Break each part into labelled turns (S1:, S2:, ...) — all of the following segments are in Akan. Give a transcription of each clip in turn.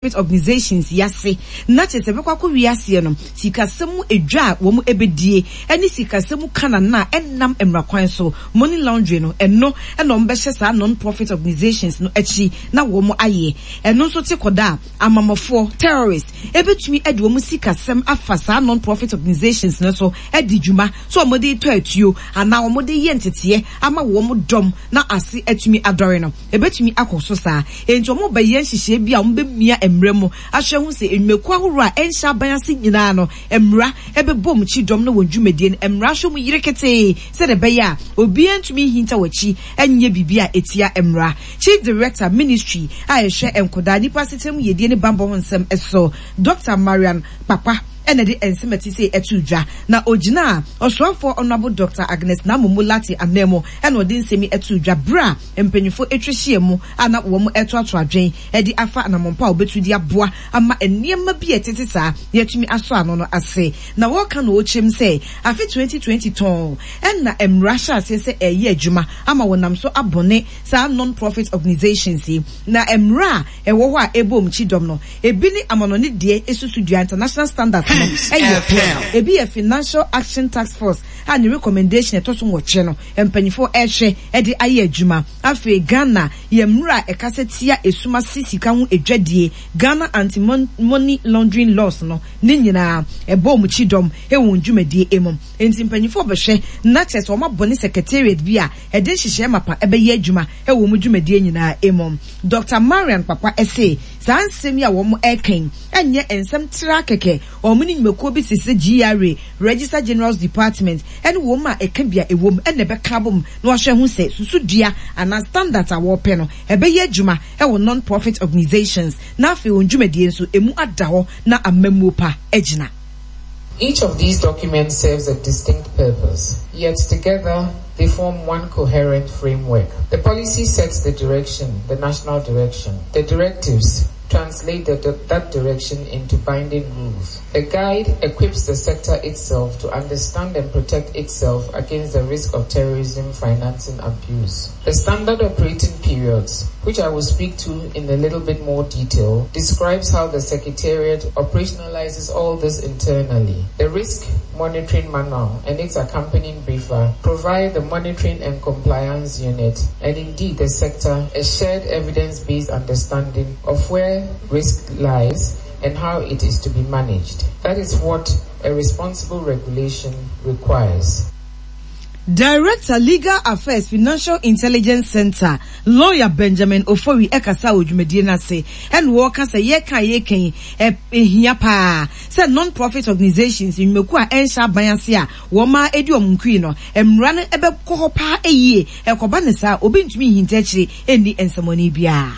S1: Organisations yi ase na kyerɛ sɛ ɛbɛkɔ akɔwie aseɛ no, sikasɛm mu edwa a wɔn ɛbɛdie ɛne sikasɛm mu kanana a ɛnnam mmara kwan so, money laundering no, ɛno na wɔn bɛhyɛ saa non-profit organisations no akyi na wɔn ayɛ. Ɛno nso te kɔda a amamɔfoɔ, terrorists, ɛbɛtumi de wɔn sikasɛm afa saa non-profit organisations no so adi dwuma sɛ wɔn de retɔ atuo anaa wɔn de reyɛ nteteɛ ama wɔn dɔm na ase atumi adɔre no. Ebetumi akɔ so saa. Enti wɔbɛyɛ nhyehyɛe bi a wɔbemia mmara mu ahwɛ ahu sɛ nnwumakuo ahoroɔ a ɛnhyɛ aban ase nyinaa no mmara bɛbɔ wɔn kyidɔm ne wɔn dwumadie no mmara ahwɛ mu yere ketee sɛdeɛ ɛbɛyɛ a obiara ntumi nhinta wɔn akyi nyɛ biribi a ɛtia mmara. Chief Director, Ministry a ɛhwɛ nkwadaa, nnipa asetena mu yiedie ne bammɔ ho nsɛm so, Dɔkta Marian Kpakpa na ɛde nsɛm a ɛte sei too dwa, na ɔgyinaa Ɔsoafoɔ Honourable Dɔkta Agnes Naa-Momo Lartey ananmu na ɔde nsɛm yi too dwa berɛ a mpanyimfo atwa ahyia mu a na wɔretoatoa adwene de afa anammɔn pa a wobetu de aboa ama nneɛma bi a ɛtete saa na yɛatumi asɔ ano no ase. Na wɔreka no wɔkyerɛ mu sɛ afe 2020 tɔnn na mmara hyɛɛ aseɛ sɛ ɛreyɛ adwuma ama wɔnam so abɔne saa non-profit organisations yi. Na mmara a ɛwɔ hɔ a ɛbɔ wɔn kyidɔm no, ebi ne amanɔne deɛ susudua, international standards no, yɛ pɛ. Ebi yɛ Financial Action Task Force a ne recommendation a ɛtɔ so nwɔtwe no, mpanyimfoɔ rehwɛ de ayɛ adwuma. Afei Ghana yɛ mmra a ɛkasa tia esum ase sika ho adwadie, Ghana Anti-Money Laundering Laws no, ne nyinaa ɛbɔ wɔn kyidɔm wɔ wɔn dwumadie mu. Enti mpanyimfoɔ bɛhwɛ na kyerɛ sɛ wɔabɔ ne secretariat bi a ɛde nhyehyɛɛ mapa bɛyɛ adwuma wɔ wɔn dwumadie nyinaa mu. Dɔkta Marian Kpakpa se saa nsɛm yi a wɔreka yi nyɛ nsɛm traa kɛkɛ, wɔn ne nnwumakuo bi te sɛ GRA, Registrar General's Department, ne wɔn a ɛka bi a ɛwom na ɛbɛka abom na wɔahwɛ ahu sɛ susudua anaa standards a wɔrepɛ no ɛbɛyɛ adwuma wɔ non-profit organisations na afei wɔn dwumadie nso ɛmu ada hɔ na amammuo pa agyina.
S2: Each of these documents serves a distinct purpose, yet together they form one coherent framework. The policy sets the direction, the national direction. The directives translate the, that direction into binding rules. The guide equips the sector itself to understand and protect itself against the risk of terrorism financing abuse. The standard operating periods, which I will speak to in a little bit more detail, describes how the Secretariat operationalizes all this internally. The risk monitoring manual and its accompanying briefer provide the monitoring and compliance unit and indeed the sector a shared evidence-based understanding of where risk lies and how it is to be managed. That is what a responsible regulation requires.
S1: Director, Legal Affairs, Financial Intelligence Centre, Lawyer Benjamin Ofori kasaa wɔ dwumadie no ase ɛna ɔreka sɛ yɛreka a yɛreka yi ɛhia paa sɛ non-profit organisations, nnwumakuo a ɛnhyɛ aban ase a wɔn ara ɛdi wɔn nkui no, mmara no bɛkɔ hɔ paa yie. Ɛkɔba no saa a, obi ntumi nhinta akyire nni nsɛmmɔne biara.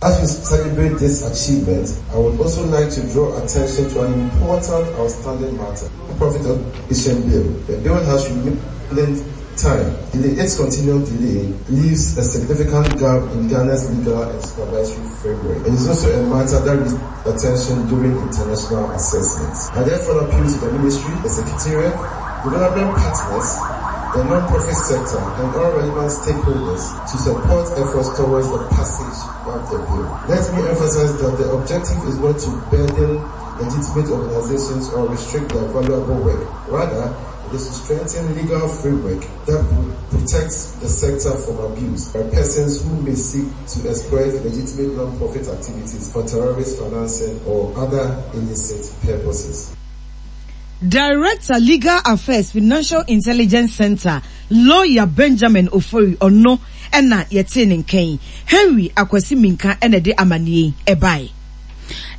S3: As we celebrate this achievement, I would also like to draw attention to an important outstanding matter. Profit Organization Bill. The bill has remained time. Delay, its continued delay leaves a significant gap in Ghana's legal and supervisory framework. It is also a matter that needs attention during international assessments. I therefore appeal to the Ministry, the Secretariat, development partners, the non-profit sector, and all relevant stakeholders to support efforts towards the passage of the bill. Let me emphasize that the objective is not to burden legitimate organizations or restrict their valuable work. Rather, it is to strengthen legal framework that protects the sector from abuse by persons who may seek to exploit legitimate non-profit activities for terrorist financing or other illicit purposes.
S1: Director, Legal Affairs, Financial Intelligence Centre, Lawyer Benjamin Ofori, ɔno na yɛtee ne nka yi. Henry Akwasi Minkah na ɛde amanneɛ yi bae.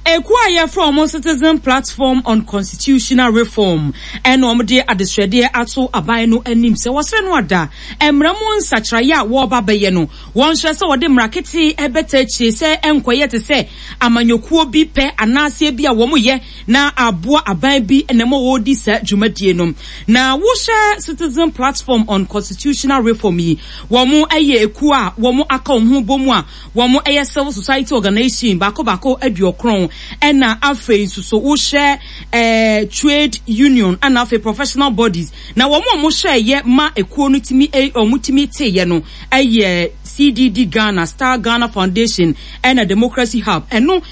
S4: Ekuo a yɛfrɛ wɔn Citizen Platform on Constitutional Reform na wɔde adesrɛdeɛ ato aban no anim sɛ wɔsrɛ no ada mmara mu nsakyeraeɛ a wɔreba abɛyɛ no, wɔnhwɛ sɛ wɔde mmara ketee bɛta akyire sɛ ɛnkɔyɛ te sɛ amanyɔkuo bi pɛ anaasɛ ebia wɔyɛ na aboa aban bi na ɛma wɔredi saa dwumadie no. Na wohwɛ Citizen Platform on Constitutional Reform yi, wɔn yɛ ekuo a wɔn aka wɔn ho bɔ mu a wɔn yɛ civil society organization baako baako aduokron, ɛna afei nso so wohwɛ eh, trade union ɛna afei professional bodies. Na wɔn a wɔhwɛɛyɛ ma ekuo no tumi eh, wɔn tumi teeɛ no ɛyɛ CDD Ghana, Star Ghana Foundation ɛna Democracy Hub. Ɛno.